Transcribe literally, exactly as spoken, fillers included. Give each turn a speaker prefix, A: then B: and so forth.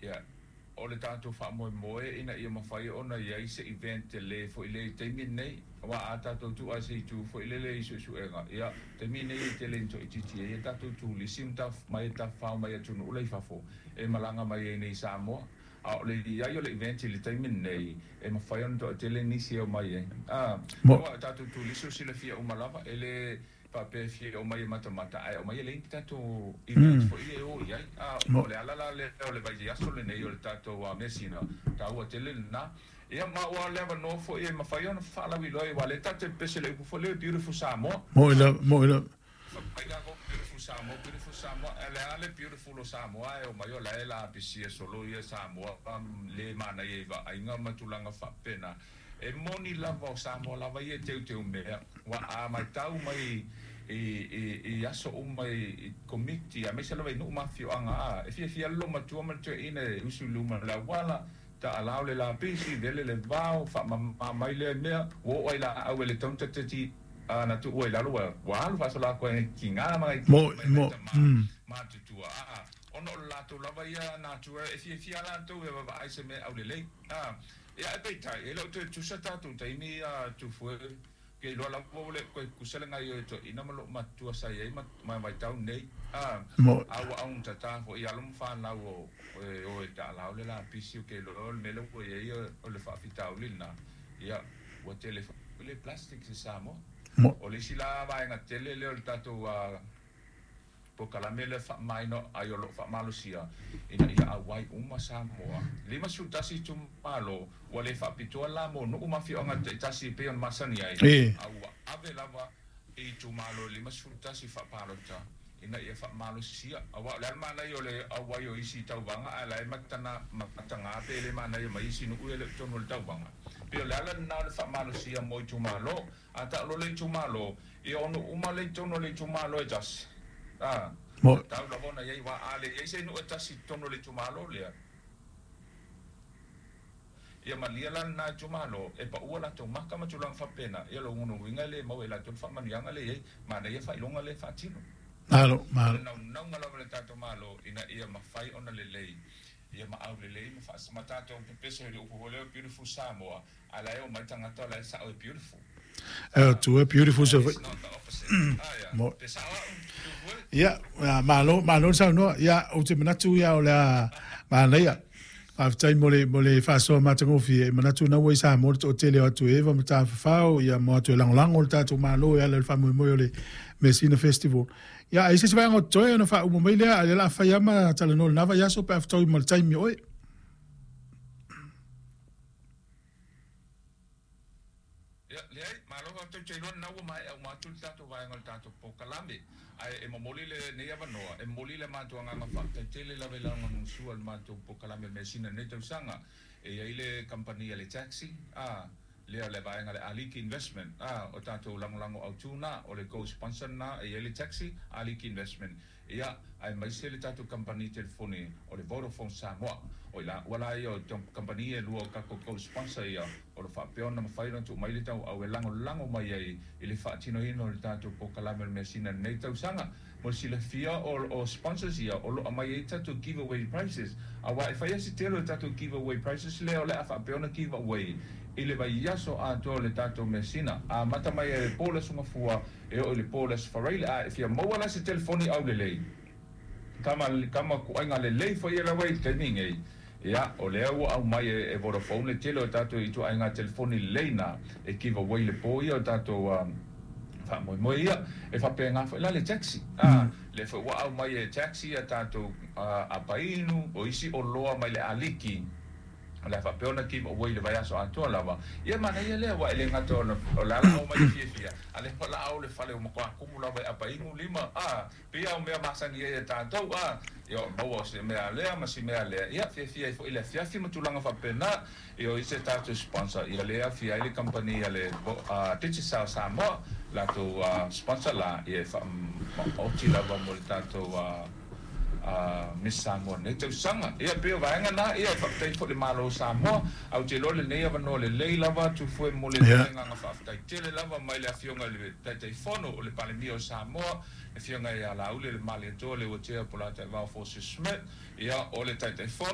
A: Ia, o le tatou faamoemoe ina ia mafai ona i ai se event tele foi lea i le taimi lenei, aua a tatou tuu lava i se itu foi lele i suesuega, ia, taimi lenei e tele ina toaitiiti ai a tatou turisi ma mai tafafao mai atunuu la i fafo e malaga mai ai nei i Samoa. A o le i ai o le event i le taimi lenei, e mafai ona toatele nisi e omai ai. A, aua o tatou turisi ua silafia uma lava, e le faapea e fia omai e matamata, ae omai e leai ni tatou event foi e o i ai. A, o le ala la lea o le vaiaso lenei o le tatou measina, taua tele lena. Ia, ma ua le avanoa foi e mafai ona faalauiloa ai, aua o lea tatou te pepese i le upu foi lea, Beautiful Samoa.
B: Mo'i lava, mo'i lava.
A: Fai tatou Beautiful Samoa, Beautiful Samoa, ae o le a le beautiful o Samoa ae omai o la e lapisia solo ia Samoa le manaia i vaaiga ma tulaga faapena. E moni lava o Samoa lava ia e teuteu mea, ua a matau mai i, i, i aso uma i, i komiti, aemaise lava i nuu ma afioaga, a, e fiafia le loomatua ma le toeaina e usu i luma o le auala, taalao le lapisi, vele le vao, faamama mai lea mea, ua oo ai laau e le tatau ona tatati na tuua i lalo, ua, ua alu faasolo atu ai tiga ma nai
B: Mo'i,
A: mai
B: mo'i.
A: tama
B: Mm.
A: matutua, a, ona o le latou lava ia natura e fiafia latou e vaavaai se mea aulelei. A, ia, e peitai, e le o toe tusa tatou taimi a Tufue, ke iloa lava ua le toe tusa le gaoioi o toeaina ma loomatua sa i ai ma, ma vaitau nei. A,
B: Mo'i.
A: a ua augatata foi i alo ma fanau o, e o e taalao le lapisi, o ke iloa o le mea lea ua i ai o le faafitauli lena. Ia, ua tele foi le plastic i Samoa.
B: Mo'i.
A: O le isi la vaega tele lea o le tatou uh, polokalame lea faamamaina ai o loo faamalosia ina ia auai uma Samoa. Lima sefulu tasi itumalo, ua le faapitoa la mo nuu ma afioaga taitasi e pei ona masani ai,
B: E.
A: a ua ave lava i itumalo e lima sefulu tasi faapalota ina ia faamalosia. Aua o le a le manaia o le auai o isi tauvaga, ae la e matana mataga pe le manaia mai isi nuu e le o totonu o le tauvaga. Pei o le ala lena o le faamalosia mo itumalo. A taalo le itumalo, ia o nuu uma le i totonu o le itumalo e tasi. A,
B: Mo'i.
A: tau lava ona i ai aua a leai se nuu e tasi i totonu o le itumalo lea, ia malia la lena itumalo e paua latou maka ma tulaga faapena. Ia lona uiga e le maua e latou le faamanuiaga lea i ai manaia faailoga lea e faatino.
B: Malo,
A: O
B: malo.
A: le naunauga lava le tatou Malo ina ia mafai ona lelei ia ma aulelei ma faas ma tatou pepese i le upu foi lea Beautiful Samoa, a la e omai tagata o la e sao e beautiful.
B: E tu e beautiful se
A: It's not the opposite. Ah, ia.
B: Mo'i.
A: Pe sao au, Tufue?
B: Ia, malo, malo le saunoa. Ia, ou te manatu ia o le a manaia. Faafetai mo le, mo le faasoa matagofie. E manatu na ua i Samoa le toatele o atu e eva ma tafafao, ia mo atu e lagolago le tatou Malo e ala i le faamoemoe o le Measina Festival. Ia, ai se se vaega o totoe ona faauma mai lea, a o le a fai ama talanoa i lena vaiaso pe a fetaui ma le taimi o oe.
A: Ia, leai, malo faafetai. Ou te iloa lena ua maea uma atu le tatou vaega o le tatou polokalame. Ae e momoli lenei avanoa, e momoli le matou agaga faafetai tele lava i lagolagosua i le matou polokalame o le measina i lenei tausaga. E i ai le kamupani a le taxi, a, lea o le vaega le Aliki Investment, a, o tatou lagolago autu na, o le co-sponsor lena, e i ai le taxi, Aliki Investment. Ia, aemaise le tatou kamupani telefoni o le Vodafone Samoa. O i la, ua la ia o kamupani e lua o tatou co-sponsor ia, o lo faapea ona mafai ona tuu mai le tauau e lagolago mai ai i le faatinoina o le tatou polokalame o le measina i lenei tausaga. Mo le silafia o, o sponsors ia o loo aumai ai tatou giveaway prizes. Aua e fai lava si tele o tatou giveaway prizes lea o le a faapea ona giveaway i le vaiaso atoa o le tatou measina. Amata mai ai le po o le Aso Gafua e oo i le po o le Aso Faraile. A e fia maua la se telefoni aulelei, kama, kama kuaiga lelei foi e lava i le taimi nei. Ia, o lea ua aumai e, e Vodafone le tele o tatou ituaiga telefoni lelei na e giveaway le po ia o tatou um, faamoemoe ia. E faapena foi la le taxi. A, lea foi ua aumai e taxi ia tatou uh, apainu, o isi oloa mai le Aliki, o le a faapea ona giveaway i le vaiaso atoa lava. Ia manaia lea, aua e le gata ona o le a la aumai le fiafia, a o lea foi la ao le fale ua matua kumu lava e apainu lima. A, pei lava o mea masani ai e tatou, a, ia o maua o se mea lea ma si mea lea. Ia, fiafia ai foi i le afiafi ma tulaga faapena. Ia o isi a tatou sponsor, ia lea e afia ai le kamupani a le uh, Digicel Samoa, latou uh, sponsor la, ia e faamaoti lava mo le tatou uh, uh, Miss Samoa nei tausaga. Ia pei o vaega na, ia e faafetai foi le Malo o Samoa. Ae ou te iloa lenei avanoa lelei lava Tufue mo le
B: Ia.
A: agaga faafetai tele lava mai le afioga i le Taitaifono o le Palemia o Samoa, le afioga ia Laauli le Malietoa Leuatea Polataivao Fosi Smith, ia o le Taitaifono